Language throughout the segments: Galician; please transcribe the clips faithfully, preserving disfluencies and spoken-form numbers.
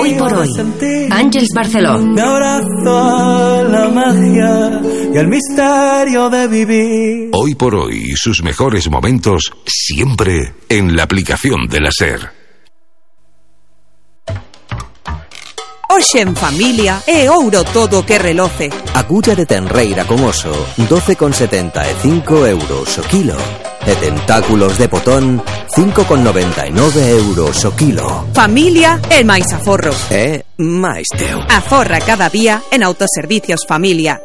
Hoy por hoy, Àngels Barceló. Me abrazo a la magia y al misterio de vivir. Hoy por hoy, sus mejores momentos siempre en la aplicación de la SER. Hoxe en familia é ouro todo que reloce. Agulla de tenreira con oso, doce con setenta e cinco euros o kilo. E tentáculos de potón, cinco con noventa e nove euros o kilo. Familia é máis aforro. É máis teu. Aforra cada día en Autoservicios Familia.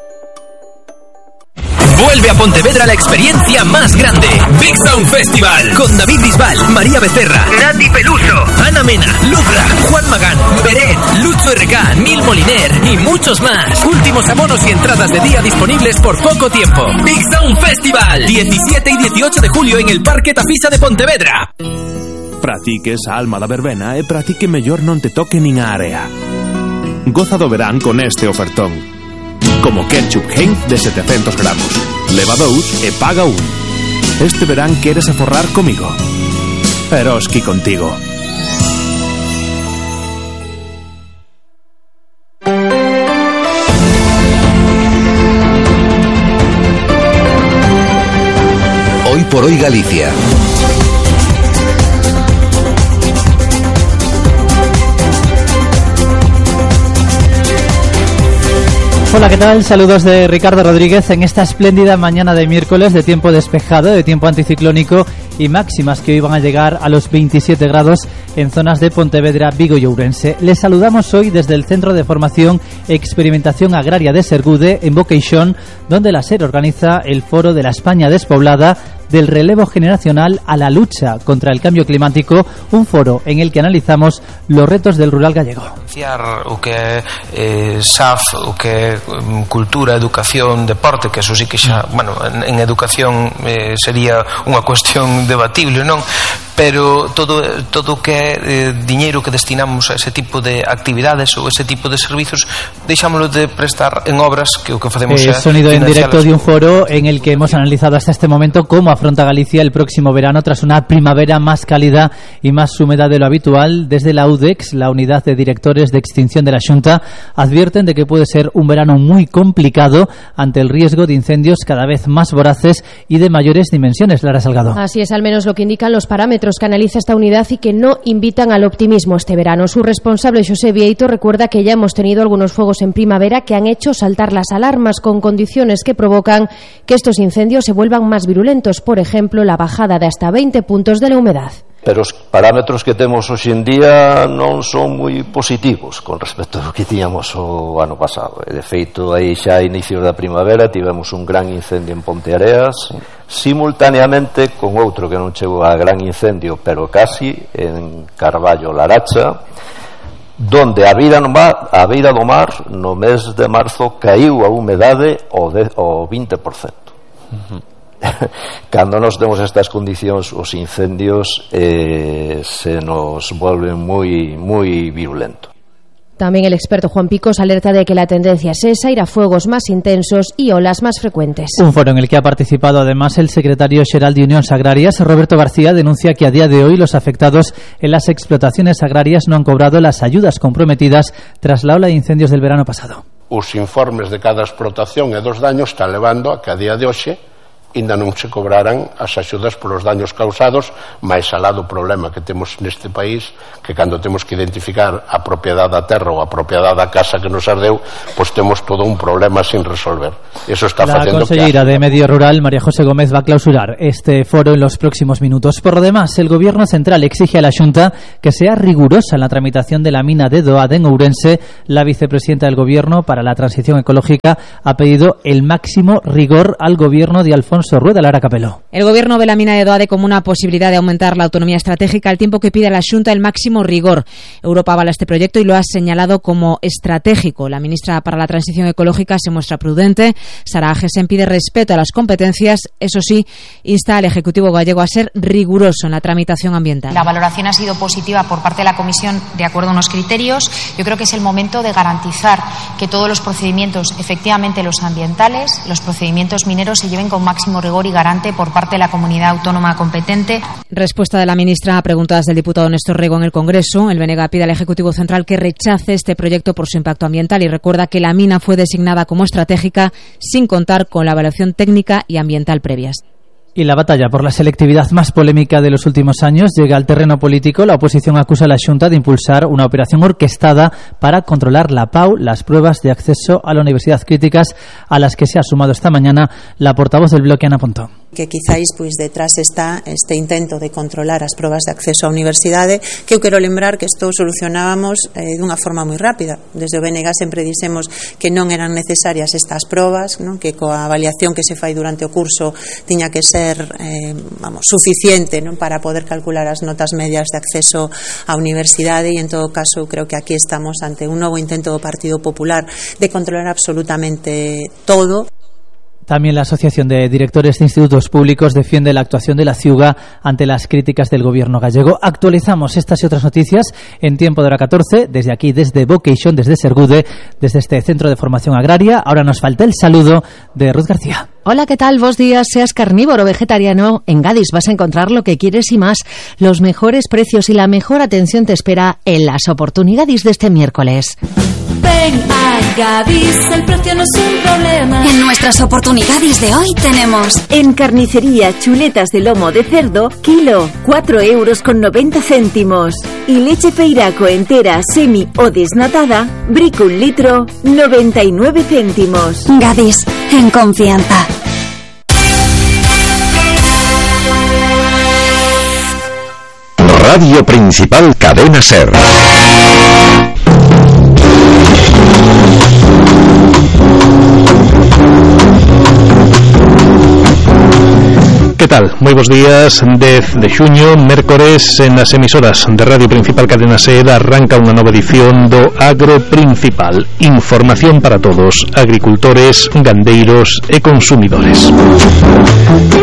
Vuelve a Pontevedra la experiencia más grande. Big Sound Festival. Con David Bisbal, María Becerra, Nati Peluso, Ana Mena, Lubra, Juan Magán, Beret, Lucho R K, Nil Moliner y muchos más. Últimos abonos y entradas de día disponibles por poco tiempo. Big Sound Festival. diecisiete y dieciocho de julio en el Parque Tafisa de Pontevedra. Pratique esa alma da verbena e pratique mellor non te toque nin a area. Goza do verán con este ofertón. Como ketchup Heinz de setecientos gramos. Leva dous e paga un. Este verán queres aforrar comigo. Eroski contigo. Hoy por hoy Galicia. Hola, ¿qué tal? Saludos de Ricardo Rodríguez en esta espléndida mañana de miércoles de tiempo despejado, de tiempo anticiclónico y máximas que hoy van a llegar a los veintisiete grados en zonas de Pontevedra, Vigo y Ourense. Les saludamos hoy desde el Centro de Formación e Experimentación Agraria de Sergude, en Boqueixón, donde la SER organiza el Foro de la España Despoblada, del relevo generacional a la lucha contra el cambio climático, un foro en el que analizamos los retos del rural gallego. O que é eh, S A F, o que é cultura, educación, deporte, que eso sí que xa, bueno, en, en educación eh, sería unha cuestión debatible, non? Pero todo todo que é eh, diñeiro que destinamos a ese tipo de actividades ou ese tipo de servizos, deixámoslo de prestar en obras que o que facemos eh, é sonido en directo de un foro en el que hemos analizado hasta este momento cómo afronta Galicia el próximo verano tras una primavera más cálida y más húmeda de lo habitual. Desde la U D E X, la Unidad de Directores de Extinción de la Xunta, advierten de que puede ser un verano muy complicado ante el riesgo de incendios cada vez más voraces y de mayores dimensiones. Lara Salgado. Así es, al menos lo que indican los parámetros que analiza esta unidad y que no invitan al optimismo este verano. Su responsable, José Vieito, recuerda que ya hemos tenido algunos fuegos en primavera que han hecho saltar las alarmas con condiciones que provocan que estos incendios se vuelvan más virulentos. Por ejemplo, la bajada de hasta veinte puntos de la humedad. Pero os parámetros que temos hoxe en día non son moi positivos con respecto ao que tiñamos o ano pasado. De feito, aí xa a inicios da primavera tivemos un gran incendio en Ponteareas, simultaneamente con outro que non chegou a gran incendio, pero casi, en Carballo Laracha, donde a beira, no mar, a beira do mar no mes de marzo caiu a humedade ao, de, ao vinte por cento. Uh-huh. Cando nos temos estas condicións, os incendios eh, se nos volven moi moi virulentos. También el experto Juan Picos alerta de que la tendencia es esa, ir a fuegos más intensos y olas más frecuentes. Un foro en el que ha participado además el secretario xeral de Unións Agrarias, Roberto García, denuncia que a día de hoy los afectados en las explotaciones agrarias no han cobrado las ayudas comprometidas tras la ola de incendios del verano pasado. Os informes de cada explotación e dos daños están levando a que a día de hoxe ainda non se cobraran as axudas polos daños causados, máis alá do problema que temos neste país, que cando temos que identificar a propiedade da terra ou a propiedade da casa que nos ardeu, pois temos todo un problema sin resolver. Eso está facendo que... La consellera de Medio Rural, María José Gómez, va a clausurar este foro en los próximos minutos. Por lo demás, el Gobierno Central exige a la Xunta que sea rigurosa en la tramitación de la mina de Doade en Ourense. La vicepresidenta del Gobierno para la Transición Ecológica ha pedido el máximo rigor al Gobierno de Alfonso Rueda. Lara Capeló. El Gobierno ve la mina de Doade como una posibilidad de aumentar la autonomía estratégica, al tiempo que pide a la Xunta el máximo rigor. Europa avala este proyecto y lo ha señalado como estratégico. La ministra para la Transición Ecológica se muestra prudente. Sara Agesen pide respeto a las competencias. Eso sí, insta al Ejecutivo gallego a ser riguroso en la tramitación ambiental. La valoración ha sido positiva por parte de la Comisión de acuerdo a unos criterios. Yo creo que es el momento de garantizar que todos los procedimientos, efectivamente los ambientales, los procedimientos mineros, se lleven con máximo máximo rigor y garante por parte de la comunidad autónoma competente. Respuesta de la ministra a preguntas del diputado Néstor Rego en el Congreso. El B N G pide al Ejecutivo Central que rechace este proyecto por su impacto ambiental y recuerda que la mina fue designada como estratégica sin contar con la evaluación técnica y ambiental previas. Y la batalla por la selectividad más polémica de los últimos años llega al terreno político. La oposición acusa a la Xunta de impulsar una operación orquestada para controlar la P A U, las pruebas de acceso a la universidad, críticas a las que se ha sumado esta mañana la portavoz del Bloque, Ana Pontón. Que quizáis pois detrás está este intento de controlar as probas de acceso á universidade, que eu quero lembrar que isto solucionábamos eh, dunha forma moi rápida. Desde o B N G sempre dixemos que non eran necesarias estas probas, non? Que coa avaliación que se fai durante o curso tiña que ser eh, vamos, suficiente, non? Para poder calcular as notas medias de acceso á universidade, e en todo caso creo que aquí estamos ante un novo intento do Partido Popular de controlar absolutamente todo. También la Asociación de Directores de Institutos Públicos defiende la actuación de la Ciuga ante las críticas del gobierno gallego. Actualizamos estas y otras noticias en tiempo de hora catorce, desde aquí, desde Vocation, desde Sergude, desde este Centro de Formación Agraria. Ahora nos falta el saludo de Ruth García. Hola, ¿qué tal? Vos días, seas carnívoro o vegetariano, en Gadis vas a encontrar lo que quieres y más. Los mejores precios y la mejor atención te espera en las oportunidades de este miércoles. Ven a Gadis, el precio no es un problema. En nuestras oportunidades de hoy tenemos en carnicería chuletas de lomo de cerdo, kilo, cuatro euros con noventa céntimos. Y leche feiraco entera, semi o desnatada, brico un litro, noventa y nueve céntimos. Gadis, en confianza. Radio Principal Cadena Ser. Que tal? Moi bons días. Dez de xuño, mércores, en as emisoras de Radio Principal Cadena Ser arranca unha nova edición do Agro Principal. Información para todos, agricultores, gandeiros e consumidores.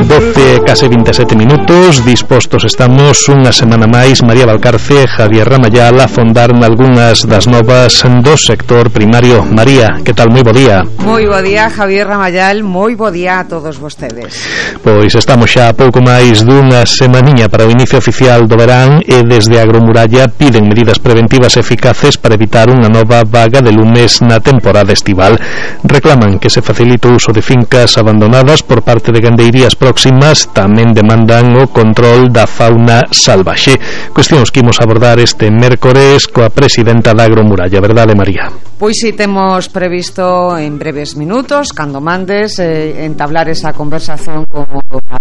doce, case vinte e sete minutos, dispostos estamos unha semana máis, María Valcarce, Javier Ramayal, a fondar nalgunhas das novas do sector primario. María, que tal? Moi bo día. Moi bo día, Javier Ramayal, moi bo día a todos vostedes. Pois estamos xa pouco máis dunha semaniña para o inicio oficial do verán e desde Agromuralla piden medidas preventivas eficaces para evitar unha nova vaga de lumes na temporada estival. Reclaman que se facilite o uso de fincas abandonadas por parte de gandeirías próximas, tamén demandan o control da fauna salvaxe. Cuestións que imos abordar este mércores coa presidenta da Agromuralla, verdade, María? Pois si temos previsto en breves minutos, cando mandes, eh, entablar esa conversación con a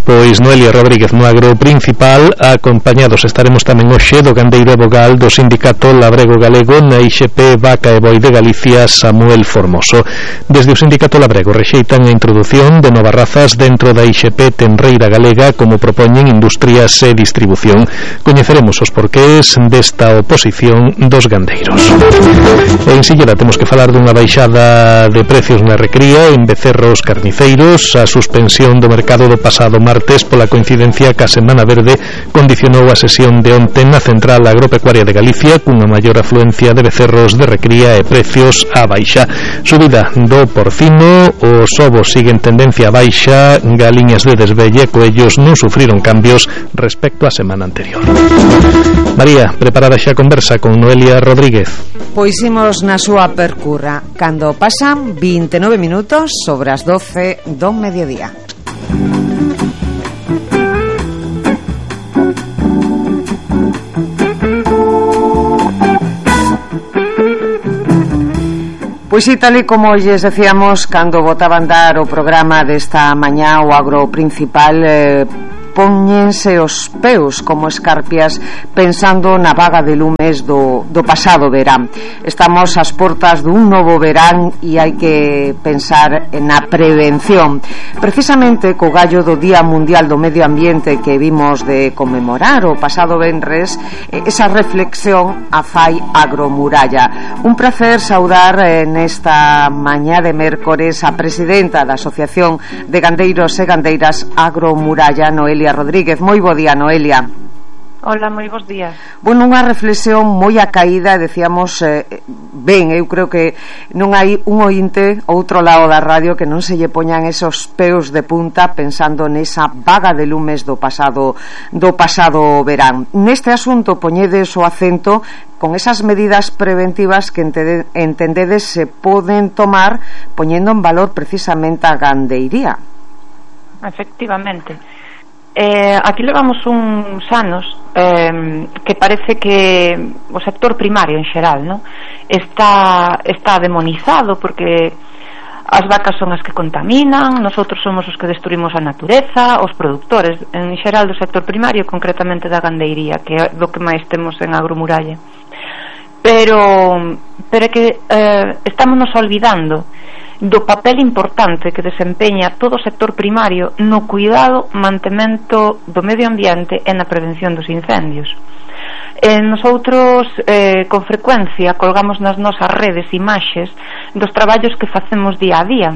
Pois Noelia Rodríguez no Agro Principal. Acompañados estaremos tamén hoxe do gandeiro e vogal do Sindicato Labrego Galego na I X P Vaca e Boi de Galicia, Samuel Formoso. Desde o Sindicato Labrego rexeitan a introdución de novas razas dentro da I X P Tenreira Galega, como propoñen Industrias e Distribución. Coñeceremos os porqués desta oposición dos gandeiros. E en Silleda temos que falar dunha baixada de precios na recría en becerros carniceiros. A suspensión do mercado do pasado martes pola coincidencia ca Semana Verde condicionou a sesión de onte na Central Agropecuaria de Galicia cunha maior afluencia de becerros de recría e precios á baixa. Subida do porcino, os ovos siguen tendencia á baixa, galiñas de desvelle e coellos non sufriron cambios respecto á semana anterior. María, preparada xa a conversa con Noelia Rodríguez? Pois imos na súa percurra cando pasan vinte e nove minutos sobre as doce do mediodía. Pois sí, tal e como lles decíamos cando botaban dar o programa desta mañá, o Agro Principal, eh, póñense os peus como escarpias pensando na vaga de lumes do, do pasado verán. Estamos ás portas dun novo verán e hai que pensar na prevención. Precisamente co gallo do Día Mundial do Medio Ambiente que vimos de conmemorar o pasado venres, esa reflexión a fai Agromuralla. Un placer saudar nesta mañá de mércores a presidenta da Asociación de Gandeiros e Gandeiras Agromuralla, Noelia Rodríguez. Moi bo día, Noelia. Hola, moi bons días. Bueno, unha reflexión moi acaída, decíamos, eh, ben, eu creo que non hai un ointe outro lado da radio que non se lle poñan esos peos de punta pensando nesa vaga de lumes do pasado do pasado verán. Neste asunto poñedes o acento con esas medidas preventivas que entendedes se poden tomar poñendo en valor precisamente a gandeiría. Efectivamente. Eh, aquí levamos uns anos eh, que parece que o sector primario en xeral, ¿no? está, está demonizado porque as vacas son as que contaminan, nosotros somos os que destruimos a natureza, os produtores en xeral do sector primario, concretamente da gandeiría, que é do que máis temos en Agromuralla. Pero, pero é que eh, estamos nos olvidando do papel importante que desempeña todo o sector primario no cuidado, mantemento do medio ambiente e na prevención dos incendios. Eh, nosotros eh, con frecuencia colgamos nas nosas redes imaxes dos traballos que facemos día a día.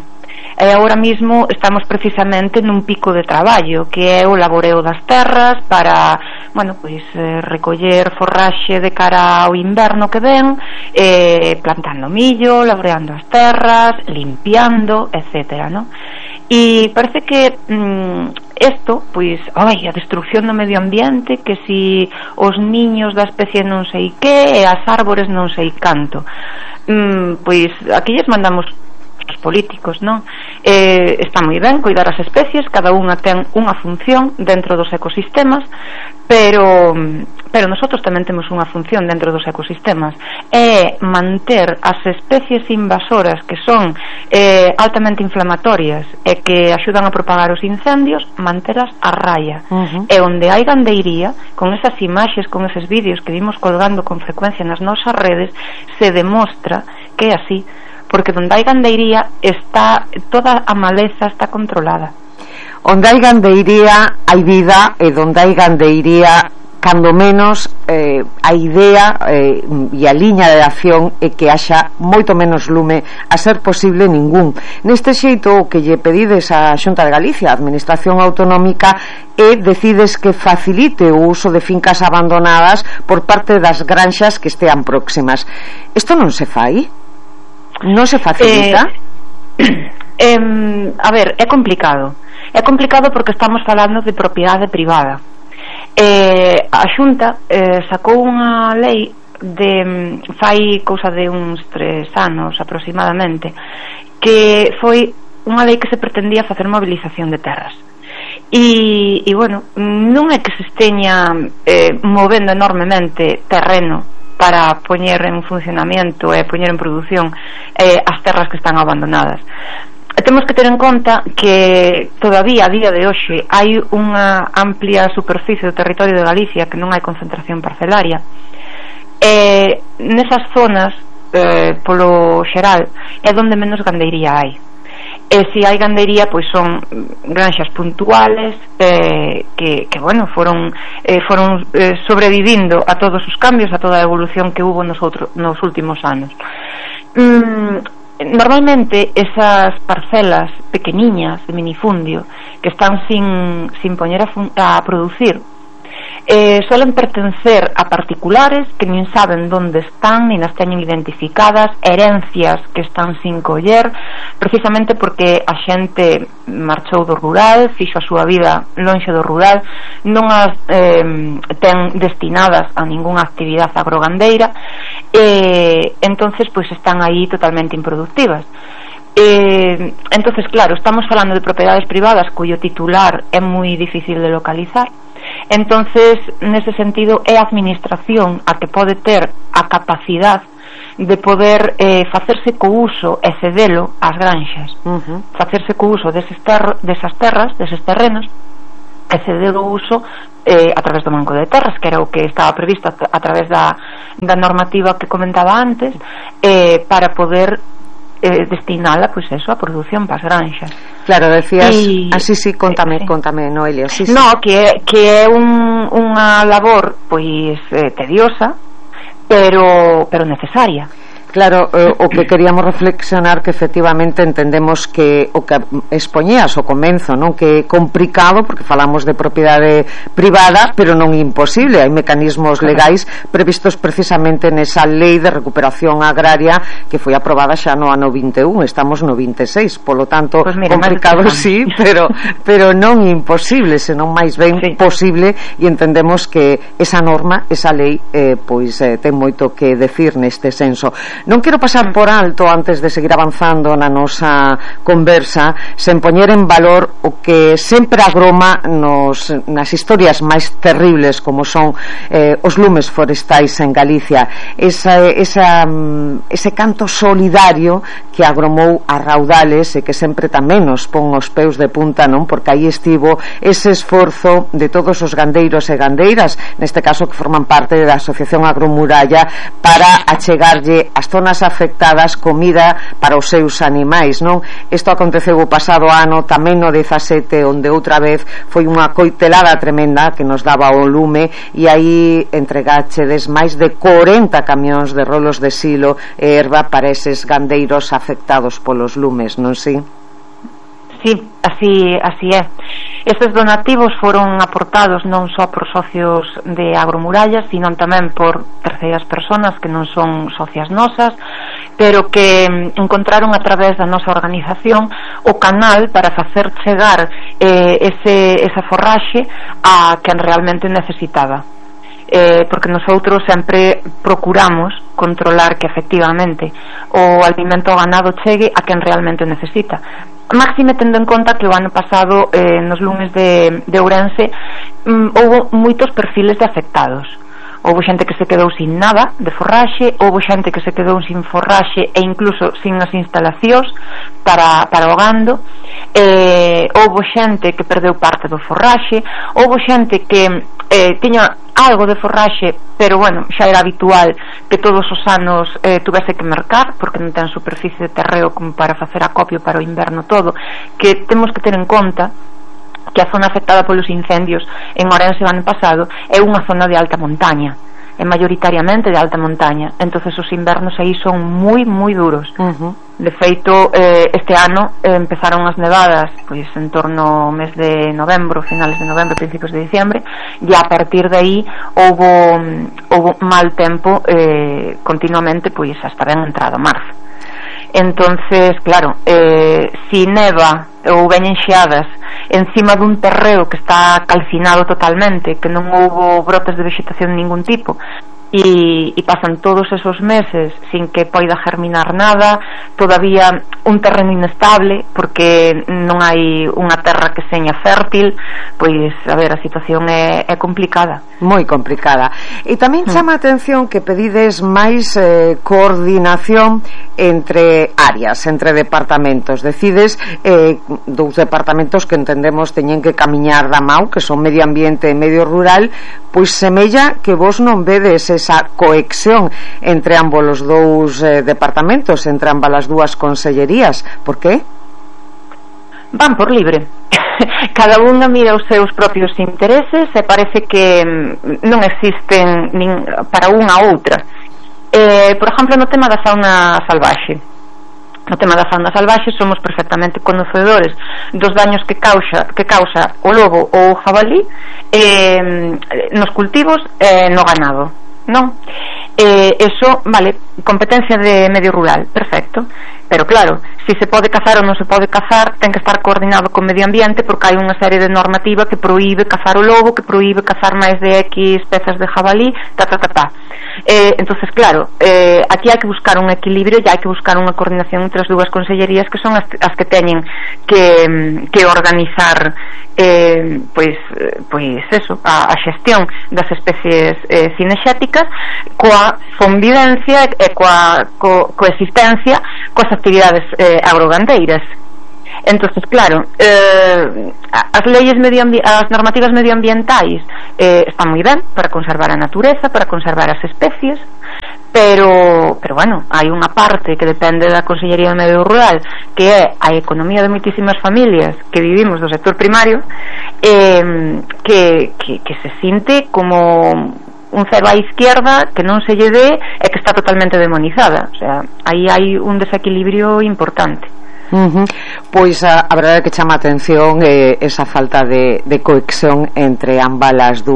E agora mismo estamos precisamente nun pico de traballo que é o laboreo das terras para, bueno, pois eh, recoller forraxe de cara ao inverno que ven, eh, plantando millo, laboreando as terras, limpiando, etcétera, ¿no? E parece que mm, isto, pois, ai, a destrucción do medio ambiente, que si os niños da especie non sei que e as árbores non sei canto, mm, pois aquí lles mandamos os políticos, non? Eh, está moi ben cuidar as especies, cada unha ten unha función dentro dos ecosistemas, pero pero nosotros tamén temos unha función dentro dos ecosistemas, é manter as especies invasoras que son eh, altamente inflamatorias e que axudan a propagar os incendios, manteras a raya. Uh-huh. E onde hai gandeiría, con esas imaxes, con eses vídeos que vimos colgando con frecuencia nas nosas redes, se demostra que é así, porque donde hai gandeiría está toda a maleza está controlada. Onde hai gandeiría hai vida, e donde hai gandeiría cando menos eh, a idea eh, e a liña de acción é que haxa moito menos lume, a ser posible ningún. Neste xeito o que lle pedides á Xunta de Galicia, a Administración Autonómica, e decides que facilite o uso de fincas abandonadas por parte das granxas que estean próximas. Isto non se fai? Non se facilita? Eh, eh, a ver, é complicado. É complicado porque estamos falando de propiedade privada. Eh, a Xunta eh, sacou unha lei de fai cousa de uns tres anos aproximadamente, que foi unha lei que se pretendía facer mobilización de terras. E, e bueno, non é que se esteña eh, movendo enormemente terreno para poñer en funcionamento e poñer en produción eh, as terras que están abandonadas. Temos que ter en conta que todavía a día de hoxe hai unha amplia superficie do territorio de Galicia que non hai concentración parcelaria, e nesas zonas eh, polo xeral é onde menos gandeiría hai. E se hai gandeiría, pois son granxas puntuales eh, que, que, bueno, foron eh, foron eh, sobrevivindo a todos os cambios, a toda a evolución que hubo nos, outro, nos últimos anos. Mm, normalmente esas parcelas pequeniñas de minifundio que están sin, sin poñer a, fun, a producir Eh, suelen pertencer a particulares que nin saben donde están, nin as teñen identificadas, herencias que están sin coller, precisamente porque a xente marchou do rural, fixo a súa vida lonxe do rural, non as eh, ten destinadas a ningunha actividade agrogandeira, e entonces pois están aí totalmente improductivas. Eh, entonces claro, estamos falando de propiedades privadas cuyo titular é moi difícil de localizar. Entonces, nese sentido, é a administración a que pode ter a capacidade de poder eh, facerse co uso e cedelo ás granxas, uh-huh. facerse co uso deses ter- desas terras, deses terrenos, e ceder o uso eh, a través do Banco de Terras, que era o que estaba previsto a, a través da, da normativa que comentaba antes, eh, para poder eh, destinala, pois pues eso, a produción para as granxas. Claro, decías, y, así sí, contame, sí. contame, Noelia. Sí, sí. No, que, que é un, unha labor pois eh, tediosa, pero pero necesaria. Claro, eh, o que queríamos reflexionar que efectivamente entendemos que o que expoñías o comenzo, non, que é complicado porque falamos de propiedade privada, pero non imposible. Hai mecanismos legais previstos precisamente nesa lei de recuperación agraria que foi aprobada xa no ano vinte e un, estamos no vinte e seis, polo tanto, pues mira, complicado sí, pero pero non imposible, senón máis ben sí. posible, e entendemos que esa norma, esa lei eh, pois eh, ten moito que decir neste senso. Non quero pasar por alto, antes de seguir avanzando na nosa conversa, sen poñer en valor o que sempre agroma nos, nas historias máis terribles como son eh, os lumes forestais en Galicia, esa, esa, ese canto solidario que agromou a raudales e que sempre tamén nos pon os peus de punta, non? Porque aí estivo ese esforzo de todos os gandeiros e gandeiras, neste caso que forman parte da Asociación Agromuralla, para achegarlle as zonas afectadas comida para os seus animais, non? Isto aconteceu o pasado ano, tamén no dezasete, onde outra vez foi unha coitelada tremenda que nos daba o lume, e aí entregáchedes máis de corenta camións de rolos de silo e erva para eses gandeiros afectados polos lumes, non si? Sí, así, así é. Estes donativos foron aportados non só por socios de Agromuralla, sino tamén por terceiras persoas que non son socias nosas, pero que encontraron a través da nosa organización o canal para facer chegar eh, ese, esa forraxe a quen realmente necesitaba. Eh, porque nosotros sempre procuramos controlar que efectivamente o alimento ao ganado chegue a quen realmente necesita, máxime tendo en conta que o ano pasado eh, nos lumes de, de Ourense mm, houve moitos perfiles de afectados. Houve xente que se quedou sin nada de forraxe, houve xente que se quedou sin forraxe e incluso sin as instalacións para, para o gando, eh, houve xente que perdeu parte do forraxe, houve xente que eh, tiña algo de forraxe, pero bueno, xa era habitual que todos os anos eh, tuvese que mercar, porque non ten superficie de terreo como para facer acopio para o inverno todo, que temos que ter en conta que a zona afectada polos incendios en Ourense o ano pasado é unha zona de alta montaña, é maioritariamente de alta montaña, entonces os invernos aí son moi moi duros. Uh-huh. De feito, eh, este ano eh, empezaron as nevadas pois en torno ao mes de novembro, finales de novembro, principios de diciembre, e a partir de aí houve, houve mal tempo eh, continuamente, pois hasta ben entrado marzo. Entonces, claro, eh, si neva ou veñen xeadas encima dun terreo que está calcinado totalmente, que non houbo brotes de vegetación de ningún tipo, e, e pasan todos esos meses sin que poida germinar nada, todavía un terreno inestable porque non hai unha terra que seña fértil, pois, a ver, a situación é, é complicada, moi complicada. E tamén chama a atención que pedides máis eh, coordinación entre áreas, entre departamentos. Decides eh, dous departamentos que entendemos teñen que camiñar da mão, que son medio ambiente e medio rural, pois semella que vos non vedes esa coexión entre ambos os dous eh, departamentos, entre ambas as dúas consellerías. Por qué? Van por libre. Cada unha mira os seus propios intereses e parece que non existen nin para unha ou outra. Eh, por exemplo, no tema da fauna salvaxe, no tema da fauna salvaxe somos perfectamente conocedores dos daños que causa, que causa o lobo ou o jabalí eh, nos cultivos e eh, no ganado, non? Eh, eso, vale, competencia de medio rural, perfecto, pero claro, si se pode cazar ou non se pode cazar ten que estar coordinado con medio ambiente, porque hai unha serie de normativa que proíbe cazar o lobo, que proíbe cazar máis de X pezas de jabalí, ta ta ta ta. Eh, entonces claro, eh, aquí hai que buscar un equilibrio e hai que buscar unha coordinación entre as dúas consellerías que son as, as que teñen que, que organizar eh, pois, pois eso, a, a xestión das especies eh, cinexéticas coa convivencia e coa co, coexistencia coas actividades eh, agrogandeiras. Entonces, claro, eh, as leyes medioambi- as normativas medioambientais eh, están moi ben para conservar a natureza, para conservar as especies, pero, pero bueno, hai unha parte que depende da Consellería de Medio Rural, que é a economía de moitísimas familias que vivimos do sector primario, eh, que, que, que se sinte como un cero á izquierda que non se lle dé e que está totalmente demonizada. O sea, aí hai un desequilibrio importante. Uh-huh. Pois a, a verdade é que chama a atención eh, esa falta de, de conexión entre ambas as dúas